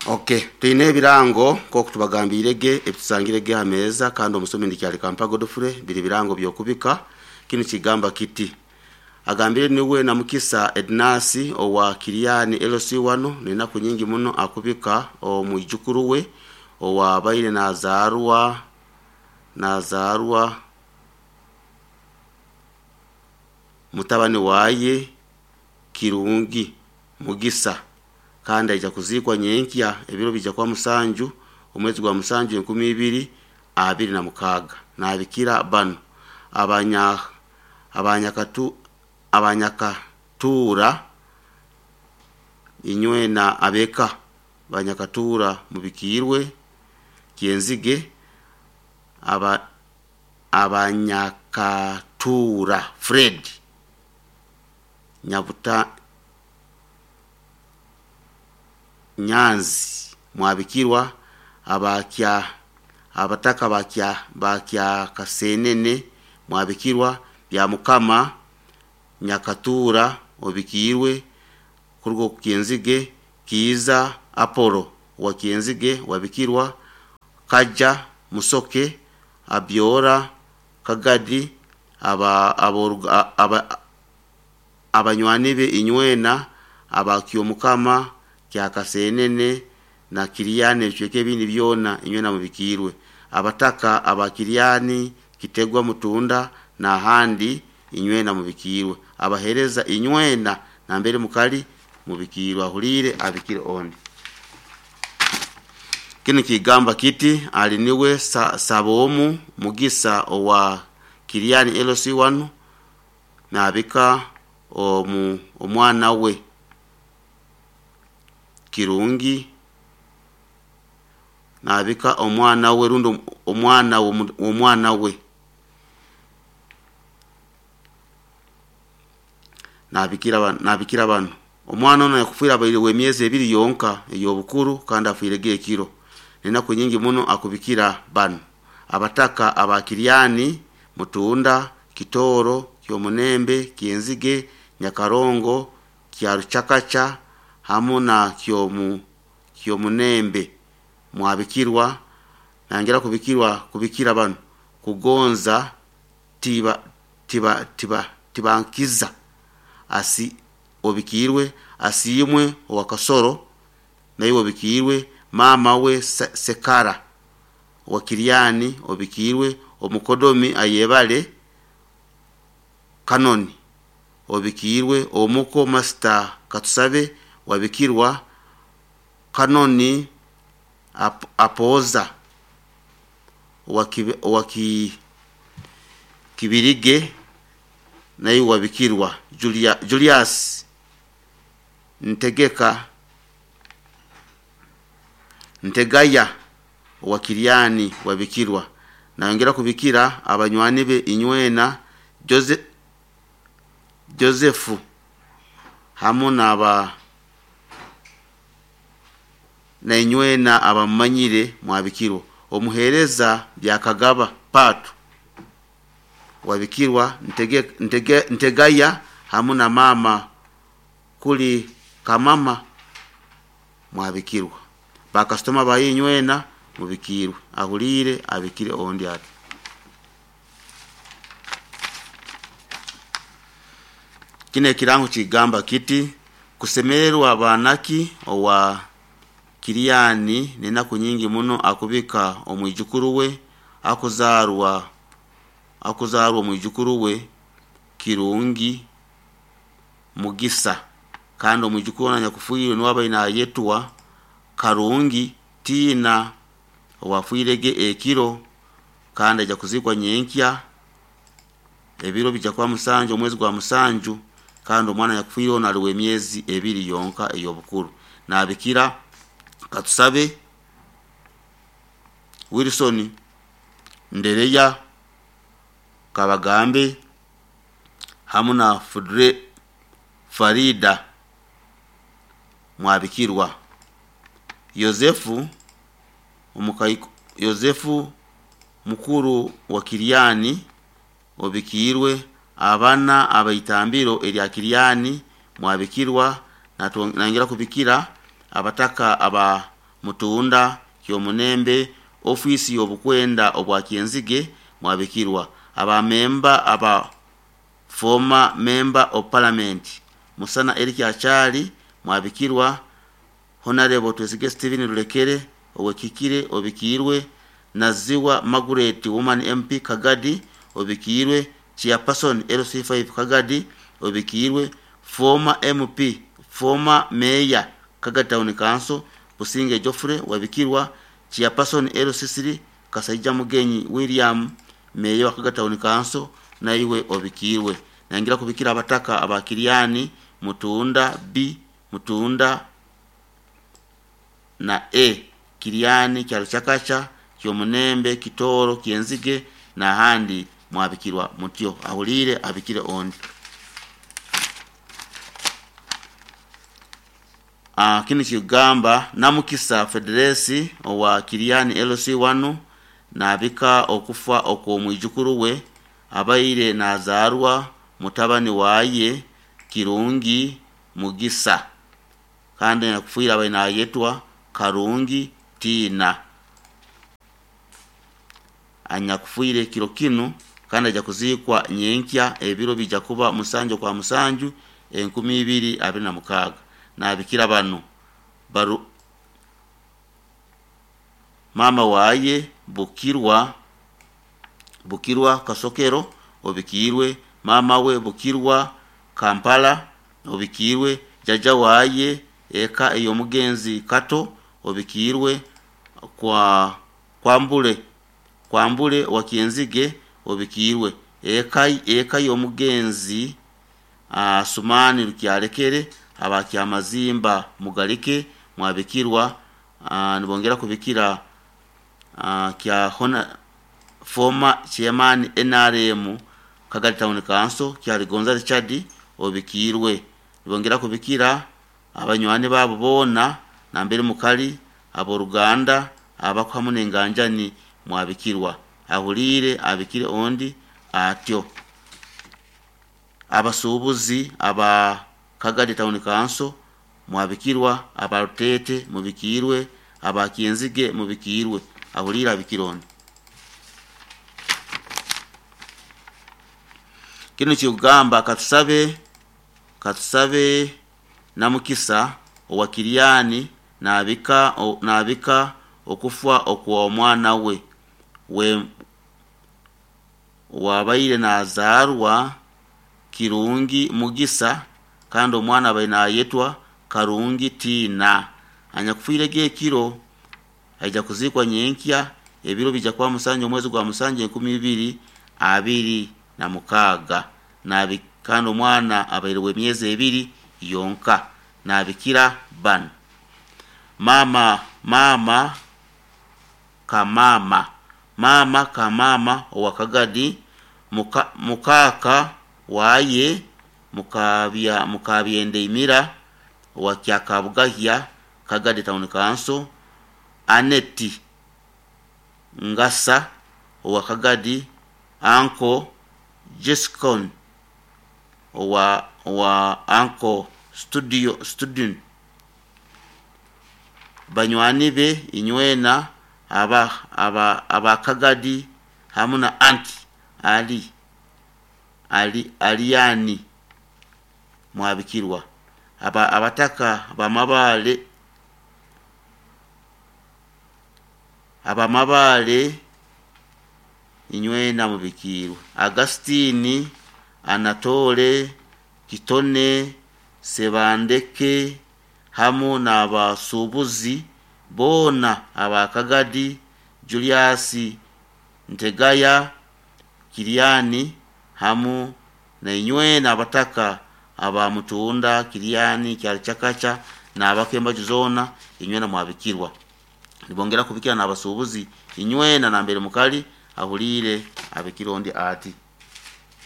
Okay, twine ebirango nk'oku tubagambiirege ebitusangirege ha meeza, kandi omusomi ndikyali Kampa Godfrey. Biri birango by'okubika. Kinu kigamba kiti: agambire niwe na Mukisa Ednasi owa Kiriani LC wano nenaku nyingi muno akubika omwijukuru we owabaire nazarwa mutabani waye Kirungi Mugisa, kandi aija kuziikwa nyenkya, ebiro bija kuba 7 omwezi gwa 7 2026. Nabikira banu: abanyakatura inywena, abeka banyakatura mubikirwe Kyenzige, abanyakatura Fred Nyabuta Nyanzi mwabikirwa, abakya abataka bakya Kasenene mwabikirwa, bya Mukama Nyakatura obikirwe kuruga oku Kyenzige, Kiiza Apollo wa Kyenzige wabikirwa, Kaja Musoke Abyora Kagadi, abanywani be inywena abakyomukama kya Kasenene na Kiriani ebicweka ebindi byona inywena mubikirwe, abataka aba Kiriani Kitegwa Mutunda n'ahandi inywena mubikirwe, abahereza inywena nambere mukali mubikirwe. Ahuliire abikire ondi. Kinu kigamba kiti: ali niwe Sabomu Mugisa owa Kiriani LC1 nabika omwana we Kirungi, nabika omwana we rundi omwana w'omwana we, nabikira bano. Omwana ono yakufiire abaire w'emyezi 2 yonka ey'obukuru, kandi afiirege ekiro. Nenaku nyingi muno akubikira banu: abataka aba Kiriani Mutunda Kitoro Kyomunembe Kyenzige Nyakarongo Kyaruchakacha hamu na Kyomunembe mwabikirwa. Nangera kubikira banu: Kugonza Tibankiza asi obikirwe, Asiimwe owa Kasoro naiwe obikirwe, mama we Sekara owa Kiriani obikirwe, omukodomi Ayebale Kanoni obikirwe, omuko Master Katusabe wabikirwa, Kanoni Apoza owa Kibirige naiwe wabikirwa, Julius Ntegeka Ntegaya owa Kiriani wabikirwa. Nayongera kubikira abanywani be inywena Joseph hamu na inywena abamumanyire mwabikirwa, omuhereza Byakagaba Patu wabikirwa, Ntegaya hamu na mama kuli Kamama mwabikirwa, bakasitoma baye inywena mubikirwe. Ahuliire abikire ondi ati. Kino ekirango kigamba kiti: kusemererwa banaki owa Kiriani nenaku nyingi muno akubika omwijukuru we akuzarwa omwijukuru we Kirungi Mugisa, kandi omwijukuru ono anyakufiirwe niwe abaire nayetwa Karungi Tiina owafiirege ekiro, kandi aija kuziikwa nyenkya, ebiro bija kuba 7 omwezi gwa 7, kandi omwana anyakufiire ono ali w'emyezi 2 yonka ey'obukuru. Nabikira Katusabe Wilson Ndereya Kabagambe hamu na Farida mwabikirwa, Yosefu mukuru wa Kiriani obikirwe, abana abaitambiro erya Kiriani mwabikirwa. Nayongera kubikira abataka aba Mutunda Kyomunembe, ofiisi y'obukwenda obwa Kyenzige mwabikirwa. Abamemba aba former member of parliament Musana Eric Achali mwabikirwa. Honorable Twesige Steven Rulekere owekikire obikirwe. Naziwa Margaret woman MP Kagadi obikirwe. Chairperson LC5 Kagadi obikirwe. Former MP, former mayor Kagadi Town Council Businge Geoffrey wabikirwa. Chairperson LC3 Kasaija Mugenyi William mayor wa Kagadi Town Council naiwe obikirwe. Nangira kubikira abataka abakiriani Mutunda B, Mutunda na A, Kiriani Kyaruchakacha, Kyomunembe, Kitoro, Kyenzige na handi mwabikirwa mutyo. Ahulire abikire ondi. Kini kigamba Namukisa Federesi owa Kiriani LC1 nabika okufa okw'omwijukuru we abaire nazarwa mutabani waye Kirungi Mugisa, kandi nakufuira abaire nayetwa Karungi Tina, anyakufuire kiro kinu kandi aja kuzikwa nyenkya ebiro bija kuba 7 kwa 7 2026. Nabikira bano baru mama waye Bukirwa Kasokero obikirwe, mama we Bukirwa Kampala obikirwe, jaja waye eka eyomugenzi Kato obikirwe, kwa Kwambule wa Kyenzige obikirwe, eka yomugenzi Sumani Rukyalekere abakyamazimba Mugalike mwabikirwa. Nibongera kubikira kya hona former chairman NRM Kagadi Town Council Kyaligonza Richard obikirwe. Nibongera kubikira abanywani babo bona nambere mukali aboruganda abakuhamu nenganjani mwabikirwa. Ahulire abikire ondi atyo. Abasuubuzi aba Kagadi Town Council mwabikirwa, abarutete mubikirwe, abakyenzige mubikirwe. Ahulire abikire ondi. Kino kigamba katusabe Namukisa owa Kiriani nabika okufa okw'omwana we wabaire nazarwa Kirungi Mugisa, kandi omwana abaire nayetwa Karungi Tina, anyakufuire gekiro aija kuzikwa nyenkya ebiro bija kuba 7 omwezi gwa 7 2026. Kandi omwana abaire w'emyezi 2 yonka. Nabikira bano mama kamama owa Kagadi, mukaka waye mukabyende owa Kyakabugahya Kagadi Town Council, Aneti Ngasa owa Kagadi, Anko Jescon owa Anko Studio Student, banywani be inywena aba Kagadi hamu na anti Aliani mwabikirwa. Abataka abamabale inywena mubikirwa. Agustini Anatole Kitone Sebandeke hamu n'abasuubuzi boona aba Kagadi, Julius Ntegaya Kiriani hamu na inywena abataka aba Mutunda Kiriani Kyaruchakacha n'abakembaju zona inywena mwabikirwa. Nibongera kubikira n'abasuubuzi inywena nambere mukali ahulire abikirondi ati.